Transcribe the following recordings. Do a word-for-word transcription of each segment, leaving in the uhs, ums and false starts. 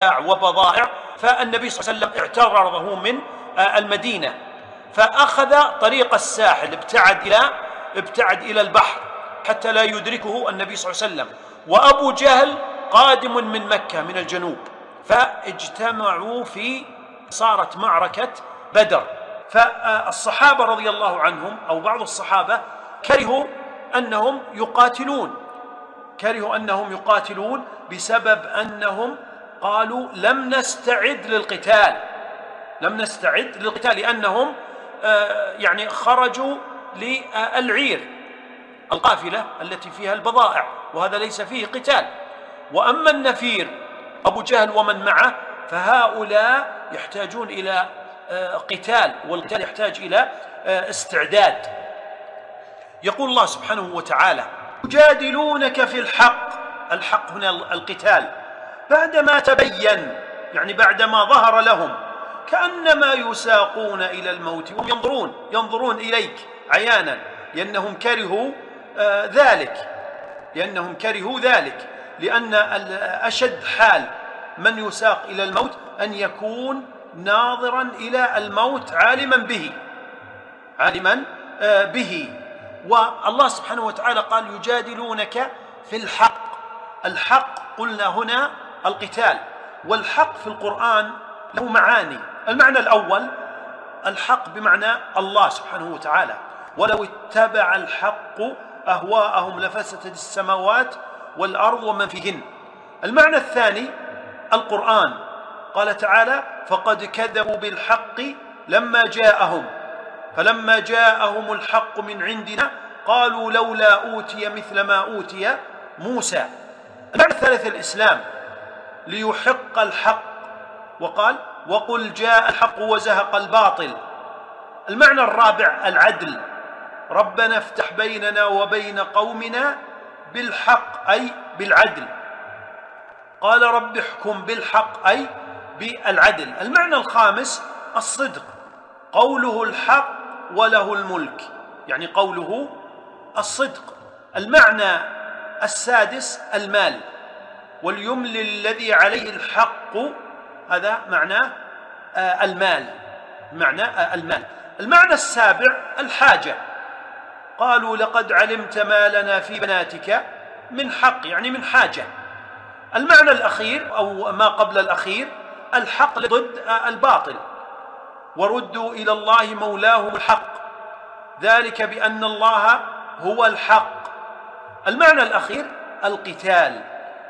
وبضائع، فالنبي صلى الله عليه وسلم اعترضه من المدينة فأخذ طريق الساحل، ابتعد إلى ابتعد إلى البحر حتى لا يدركه النبي صلى الله عليه وسلم، وأبو جهل قادم من مكة من الجنوب، فاجتمعوا في صارت معركة بدر. فالصحابة رضي الله عنهم أو بعض الصحابة كرهوا أنهم يقاتلون كرهوا أنهم يقاتلون بسبب أنهم قالوا لم نستعد للقتال لم نستعد للقتال لأنهم يعني خرجوا للعير القافلة التي فيها البضائع، وهذا ليس فيه قتال. وأما النفير أبو جهل ومن معه فهؤلاء يحتاجون إلى قتال، والقتال يحتاج إلى استعداد. يقول الله سبحانه وتعالى: يجادلونك في الحق. الحق هنا القتال، بعدما تبين يعني بعدما ظهر لهم كأنما يساقون إلى الموت وهم ينظرون ينظرون إليك عيانا، لأنهم كرهوا آه ذلك لأنهم كرهوا ذلك لأن أشد حال من يساق إلى الموت أن يكون ناظرا إلى الموت عالما به عالما آه به والله سبحانه وتعالى قال: يجادلونك في الحق. الحق قلنا هنا القتال، والحق في القرآن له معاني. المعنى الأول الحق بمعنى الله سبحانه وتعالى: ولو اتبع الحق أهواءهم لفسدت السماوات والأرض ومن فيهن. المعنى الثاني القرآن، قال تعالى: فقد كذبوا بالحق لما جاءهم فلما جاءهم الحق من عندنا قالوا لولا أوتي مثل ما أوتي موسى. المعنى الثالث الإسلام: ليحق الحق، وقال: وقل جاء الحق وزهق الباطل. المعنى الرابع العدل: ربنا افتح بيننا وبين قومنا بالحق أي بالعدل. قال: رب احكم بالحق أي بالعدل. المعنى الخامس الصدق: قوله الحق وله الملك، يعني قوله الصدق. المعنى السادس المال: وليملل الذي عليه الحق. هذا معنى المال معنى المال. المعنى السابع الحاجة: قالوا لقد علمت ما لنا في بناتك من حق، يعني من حاجة. المعنى الأخير أو ما قبل الأخير الحق ضد الباطل: وردوا إلى الله مولاهم الحق ذلك بأن الله هو الحق. المعنى الأخير القتال: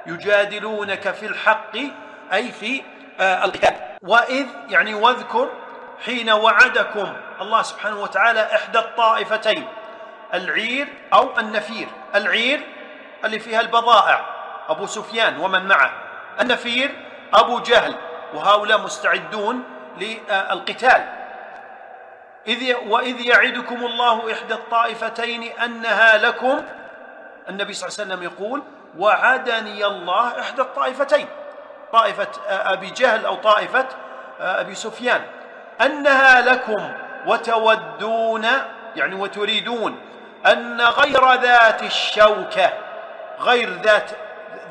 يجادلونك في الحق أي في القتال. وإذ يعني واذكر حين وعدكم الله سبحانه وتعالى إحدى الطائفتين، العير أو النفير. العير اللي فيها البضائع أبو سفيان ومن معه، النفير أبو جهل، وهؤلاء مستعدون للقتال. إذ وإذ يعدكم الله إحدى الطائفتين أنها لكم. النبي صلى الله عليه وسلم يقول: وعدني الله إحدى الطائفتين، طائفة أبي جهل أو طائفة أبي سفيان، أنها لكم وتودون يعني وتريدون أن غير ذات الشوكة. غير ذات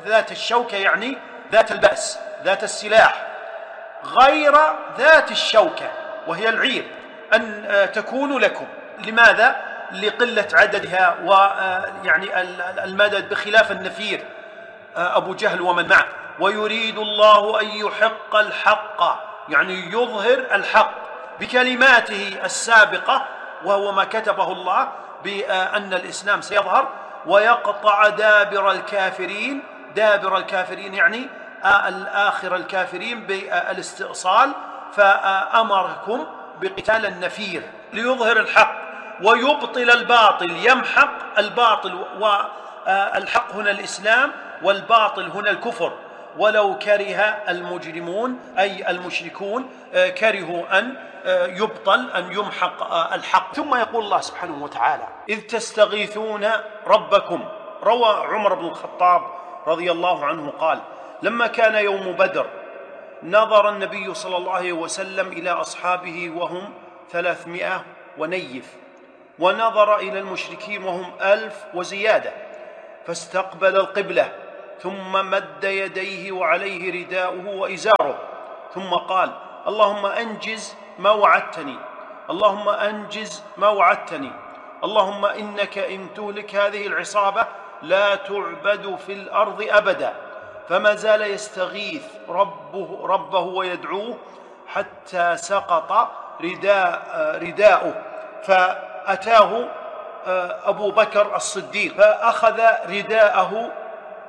ذات الشوكة يعني ذات البأس، ذات السلاح، غير ذات الشوكة وهي العير أن تكون لكم. لماذا؟ لقلة عددها ويعني المدد، بخلاف النفير أبو جهل ومن معه. ويريد الله أن يحق الحق يعني يظهر الحق بكلماته السابقة، وهو ما كتبه الله بأن الإسلام سيظهر، ويقطع دابر الكافرين. دابر الكافرين يعني الآخر الكافرين بالاستئصال، فأمركم بقتال النفير ليظهر الحق ويبطل الباطل، يمحق الباطل. والحق هنا الإسلام والباطل هنا الكفر. ولو كره المجرمون أي المشركون كرهوا أن يبطل أن يمحق الحق. ثم يقول الله سبحانه وتعالى: إذ تستغيثون ربكم. روى عمر بن الخطاب رضي الله عنه قال: لما كان يوم بدر نظر النبي صلى الله عليه وسلم إلى أصحابه وهم ثلاثمائة ونيف، ونظر إلى المشركين وهم ألف وزيادة، فاستقبل القبلة ثم مد يديه وعليه رداؤه وإزاره، ثم قال: اللهم أنجز ما وعدتني، اللهم أنجز ما وعدتني، اللهم إنك إن تهلك هذه العصابة لا تعبد في الأرض أبدا. فما زال يستغيث ربه, ربه ويدعوه حتى سقط رداء رداؤه، فأتاه أبو بكر الصديق فأخذ رداءه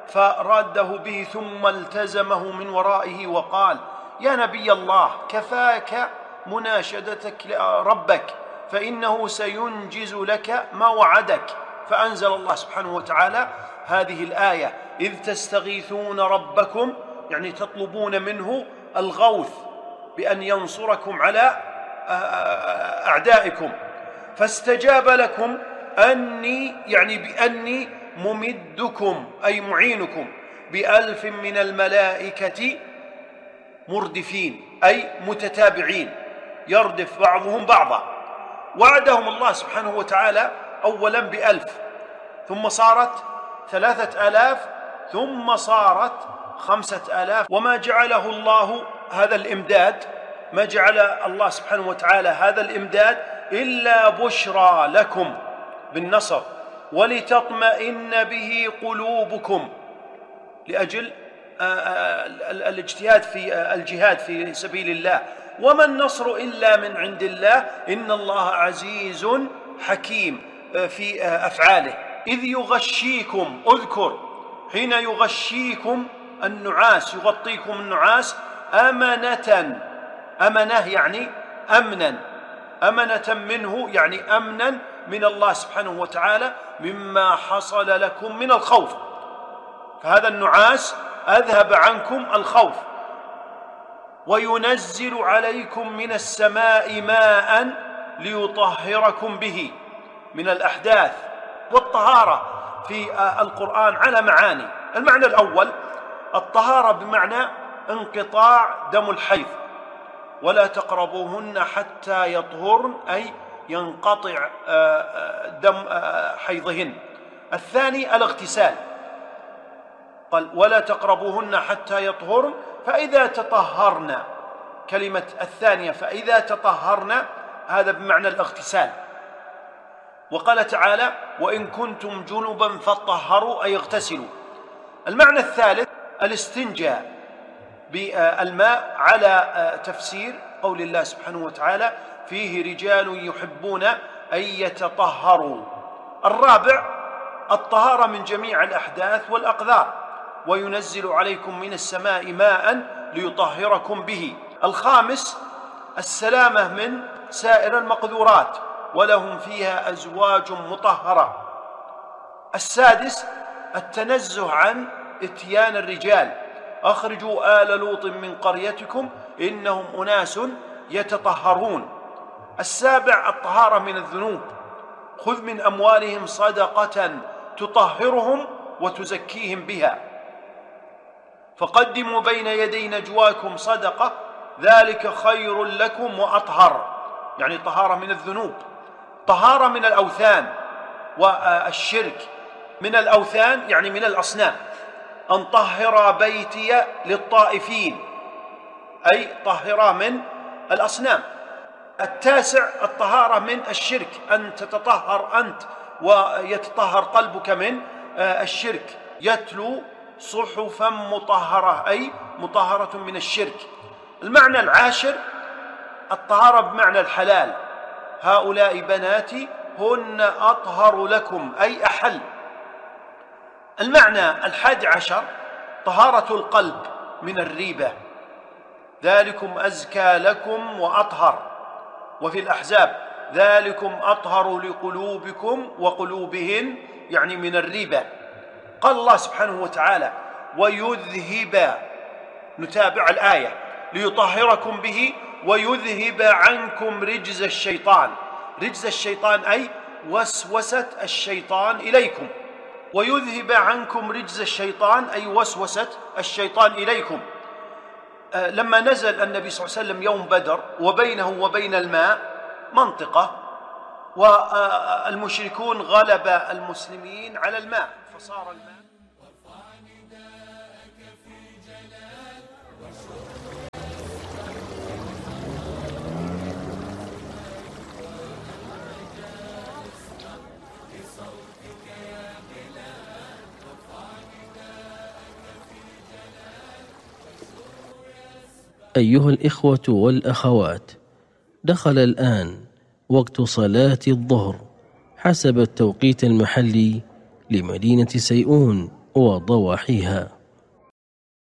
فراده به، ثم التزمه من ورائه وقال: يا نبي الله، كفاك مناشدتك ربك، فإنه سينجز لك ما وعدك. فأنزل الله سبحانه وتعالى هذه الآية: إذ تستغيثون ربكم، يعني تطلبون منه الغوث بأن ينصركم على أعدائكم، فاستجاب لكم أني، يعني بأني ممدكم أي معينكم بألف من الملائكة مردفين أي متتابعين، يردف بعضهم بعضا. وعدهم الله سبحانه وتعالى أولا بألف، ثم صارت ثلاثة آلاف، ثم صارت خمسة آلاف. وما جعله الله هذا الإمداد، ما جعل الله سبحانه وتعالى هذا الإمداد إلا بشرى لكم بالنصر، ولتطمئن به قلوبكم، لأجل الاجتهاد في الجهاد في سبيل الله. وما النصر إلا من عند الله، إن الله عزيز حكيم في أفعاله. إذ يغشيكم، اذكر حين يغشيكم النعاس، يغطيكم النعاس أمنة، أمنة يعني أمنا، أمنة منه يعني أمنا من الله سبحانه وتعالى مما حصل لكم من الخوف، فهذا النعاس أذهب عنكم الخوف. وينزل عليكم من السماء ماء ليطهركم به من الأحداث. والطهارة في القرآن على معاني. المعنى الأول: الطهارة بمعنى انقطاع دم الحيض، ولا تقربوهن حتى يطهرن، أي ينقطع دم حيضهن. الثاني الاغتسال، قال: ولا تقربوهن حتى يطهرن، فإذا تطهرن، كلمة الثانية فإذا تطهرن هذا بمعنى الاغتسال. وقال تعالى: وإن كنتم جنبا فطهروا، أي اغتسلوا. المعنى الثالث الاستنجاء بالماء على تفسير قول الله سبحانه وتعالى: فيه رجال يحبون أن يتطهروا. الرابع الطهارة من جميع الأحداث والأقذار، وينزل عليكم من السماء ماء ليطهركم به. الخامس السلامة من سائر المقذورات، ولهم فيها أزواج مطهرة. السادس التنزه عن إتيان الرجال، أخرجوا آل لوط من قريتكم إنهم أناس يتطهرون. السابع الطهارة من الذنوب، خذ من أموالهم صدقة تطهرهم وتزكيهم بها، فقدموا بين يدي نجواكم صدقة ذلك خير لكم وأطهر، يعني طهارة من الذنوب. طهارة من الأوثان والشرك. من الأوثان يعني من الأصنام، أن طهر بيتي للطائفين، أي طهر من الأصنام. التاسع الطهارة من الشرك، أن تتطهر أنت ويتطهر قلبك من الشرك. يتلو صحفا مطهرة، أي مطهرة من الشرك. المعنى العاشر الطهارة بمعنى الحلال، هؤلاء بناتي هن أطهر لكم، أي أحل. المعنى الحادي عشر طهارة القلب من الريبة، ذلكم أزكى لكم وأطهر. وفي الأحزاب ذلكم أطهر لقلوبكم وقلوبهن، يعني من الريبة. قال الله سبحانه وتعالى: ويذهب، نتابع الآية: ليطهركم به ويذهب عنكم رجز الشيطان. رجز الشيطان أي وسوسة الشيطان إليكم. ويذهب عنكم رجز الشيطان أي وسوسة الشيطان إليكم. آه لما نزل النبي صلى الله عليه وسلم يوم بدر وبينه وبين الماء منطقة، والمشركون غلب المسلمين على الماء، فصار الماء أيها الإخوة والأخوات، دخل الآن وقت صلاة الظهر حسب التوقيت المحلي لمدينة سيئون وضواحيها.